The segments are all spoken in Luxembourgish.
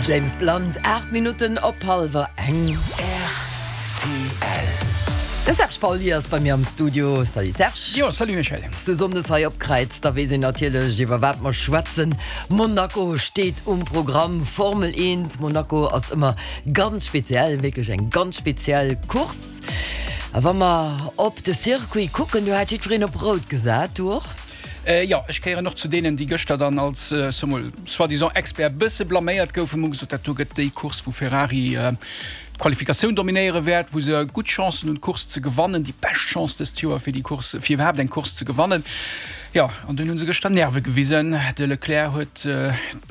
James Blunt, 8 Minutten op hallwer eng. Rtl. De Serge Pauly ass bei mir am Studio. Salut Serge. Jo, salut Michèle. Bass du Sonndes hei opkräizt, da weess een natierlech iwwer wat mer schwätzen. Monaco steet um Programm, Formel 1. Monaco ass ëmmer ganz speziell, wierklech eng ganz speziell Course. A wa mer op de Circuit kucken, do hat jiddwereen op rout gesat, du och? Jo, ech gehéieren och zu deenen, déi gëschter dann als, soe mol, soi-disant Expert bësse blaméiert goufen. Mer hu gesot, dat do gëtt déi Course, wou Ferrari d'Qualifikatioun dominéiere wäert, wou se gutt Chancen hunn, d'Course ze gewannen, déi bescht Chance dëst Joer, fir déi Course, fir iwwerhaapt eng Course ze gewannen. Jo, an dunn hu se gëschter Nerve gewisen. De Leclerc huet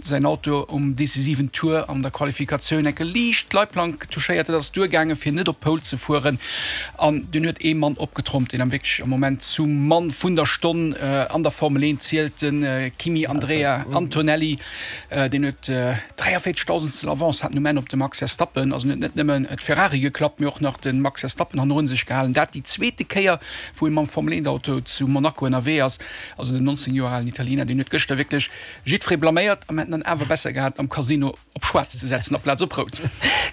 säin Auto um decisiven Tour an der Qualifikatioun enke liicht d'Leitplank touchéiert. Dat ass duergaangen, fir net op d'Pole ze fueren. An dunn huet ee Mann opgetrompt, deen am wierklech am Moment zum Mann vun der Stonn an der Formel 1 zielt, de Kimi Andrea Antonelli. Deen huet 43 Dausendstel Avance hat um Enn op de Max Verstappen. Also en huet net nëmmen d'Ferrari geklappt, mee och nach de Max Verstappen hannerun sech gehalen. Dat déi zweete Kéier, wou e mam Formel 1 Auto zu Monaco ënnerwee ass. Also den 19 Joer alen Italiener, deen huet gëschter wierklech jiddweree blaméiert a mir hätten dann awer besser gehat am Casino op schwaarz ze setzen aplaz op rout.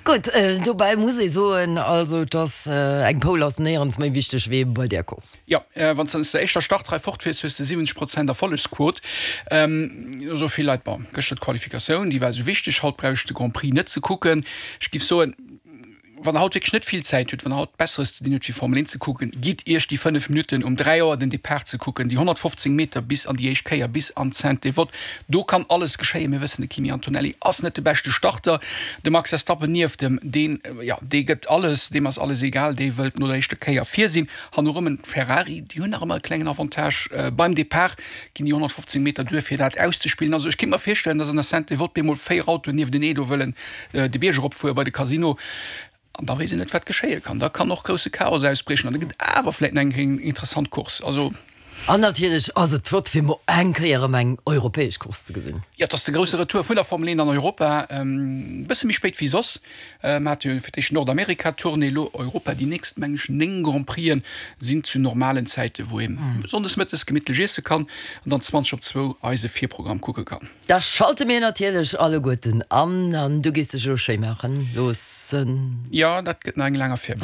Gutt, dobäi muss ee soen, also dass eng Pole ass néierens méi wichteg wéi bei där Course. Jo, wann s de aus der éischter Startrei fortfiers, hues de 70 Prozent Erfollegsquot. Esou vill Leit, bon, gëschter d'Qualifikatioun, déi war esou wichteg, haut brauch ech de Grand Prix net ze kucken. Ech giff soen, Wann der haut wierklech net vill Zäit hutt, wann der haut Besseres ze dinn hutt wéi Formel 1 ze kucken, gitt iech déi 5 Minutten um 3 Auer den Depart ze kucken, déi 115 Meter bis an déi éischt Kéier, bis an d'Sainte-Dévote. Do kann alles geschéien. Mir wëssen, de Kimi Antonelli ass net de beschte Starter. De Max Verstappen nieft em, deen, jo, dee gëtt alles, deem ass alles egal, dee wëllt no der éischter Kéier vir sinn. Hannerëm en Ferrari, déi hunn nach ëmmer e klengen Avantage beim Depart, ginn déi 115 Meter duer fir dat auszespillen. Also ech kéint mer virstellen, datt an der Sainte-Dévote bemol 4 Autoen nieftenee do wëllen de Bierg eropfuere bei de Casino an da weess een net wat geschéie kann. Da kann och grousse Chaos ausbriechen an da gëtt awer vläit nach eng interessant Course. Also. An natierlech ass et flott fir mol eng Kéier erëm eng europäesch Course ze gesinn. Jo, et ass de grousse Retour vun der Formel 1 an Europa, e bësse méi spéit wéi soss. Mer hate jo fir d'éischt Nordamerika-Tournée, elo Europa. Déi nächst, meng ech, 9 Grand Prixen sinn zu normalen Zäiten, wou ee sonndes mëttes gemittlech iesse kann an dann 20 op zwou eise Virprogramm kucke kann. Da schalte mir natierlech alleguerten an, an du gees dech elo schéi maachen loossen. Jo, dat gëtt nach eng laang Affär.